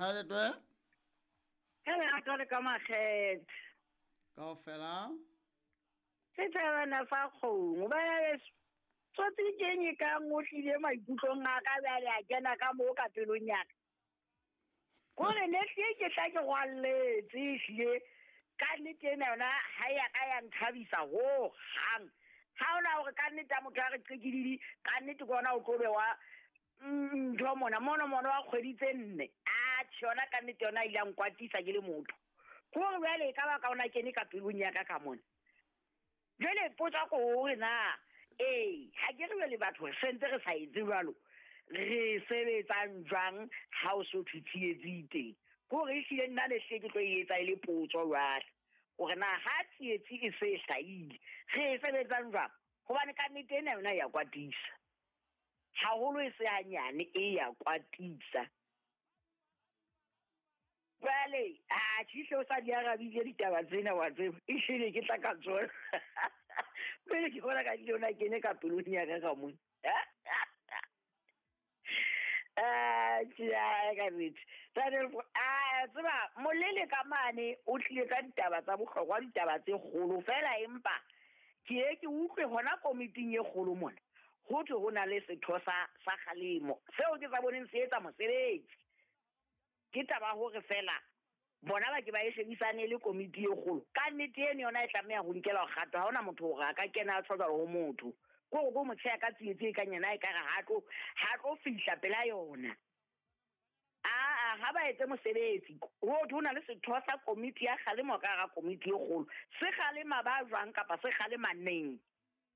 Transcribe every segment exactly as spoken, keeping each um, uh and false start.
Ha le twe? Ka lerato le ka makgethe. Kaofela. Se tsebana fa kgomo. Bana beso. Tsotsi ke eng e ka ngotlile maikutlong a ka bjale a kena ka moo ka pelong ya ka. Kore ne hlile ke tla ke rwalletse ehlile ka nnete ena yona ha ya ka ya nthabisa ho hang. Ha ona hore ka nnete a motho a re qekididi ka nnete ke ona o tlo bewa ntho mona mono mono wa kgwedi tse nne. Atjhe yona ka nnete yona ile ya nkwatisa ke le motho. Kore jwale e ka ba ka ona kene ka pelong ya ka ka mona. Jwale potso ko hore na ee ha ke re jwale batho re sentse re sa etse jwalo re sebetsang jwang ha o so thwe tsietsi e teng. Kore ehlile nna ne hlile ke tlo e etsa e le potso jwale hore na ha tsietsi e se e hlahile re e sebetsang jwang, hobane ka nnete ena yona ya kwatisa haholo, e se hanyane e ya kwatisa. Jwale atjhe ehlile o sa di arabile ditaba tsena wa tseba, ehlile ke tla ka tsona. Pele ke bona ka tlile ona kene ka pelong ya ka ka mona. Atjhe ka nnete. A tseba molele ka mane o tlile ka ditaba tsa bohlokwa, ditaba tse kgolo fela, empa ke ye ke utlwe hona komiting e kgolo mona ho thwe ho na le setho sa sa kgalemo seo ke sa boneng se etsa mosebetsi. Ke taba hore fela bona ba ke ba e shebisane le komiti e kgolo. Ka nnete eno yona e tlameha ho nkelwa kgato. Ha hona motho hore a ka kena a tjho jwalo ho motho. Kore ko motho ya ka tsietsi e kang yena e ka re ha tlo ha tlo fihla pela yona. Aa ha ba etse mosebetsi. Ho thwe ho na le setho sa komiti ya kgalemo ka hara komiti e kgolo. Se kgalema ba jwang kapa se kgalema neng?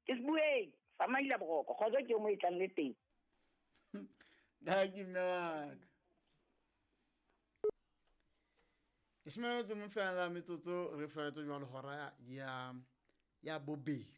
Ke se bueng. Tsamaila boroko. Kgotso ke mo e tlang le teng. Dankie mme wa ka. Leshome le metso e mong fela metsotso re felletse jwalo hora ya ya bobedi.